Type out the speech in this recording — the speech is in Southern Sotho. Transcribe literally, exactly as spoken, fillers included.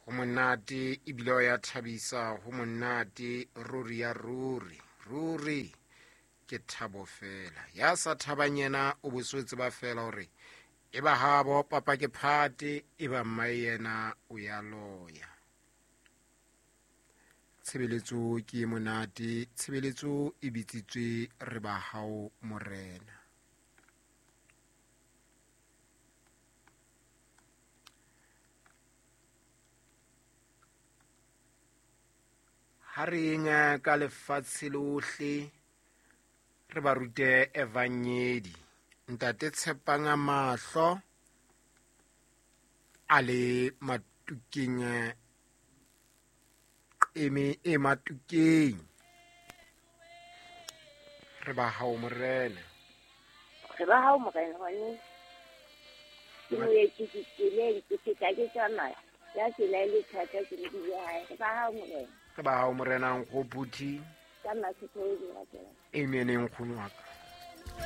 Ho monate ebile o ya thabisa, ho monate ruri ya ruri, ruri ke thabo fela. Ya sa thabang yena o boswetse tseba fela hore e ba habo papa ke phate, e ba mmae yena o ya loya. Tshebeletso ke e monate, tshebeletso e bitsitswe re ba hao morena. Ha re yeng ka lefatshe lohle re ba rute evangedi. Ntate Tshepang a mahlo a le matukeng, eme e matukeng. Re ba hao morena. Re ba hao morena hone. Ke moeti ke tseleng, ke feta ke tsamaya. Ya tsela e le thata ke le bile hae. Re ba hao morena. Re ba hao morena nkgophuthi. Ka masetho e di ratela. Amen nkgono wa ka.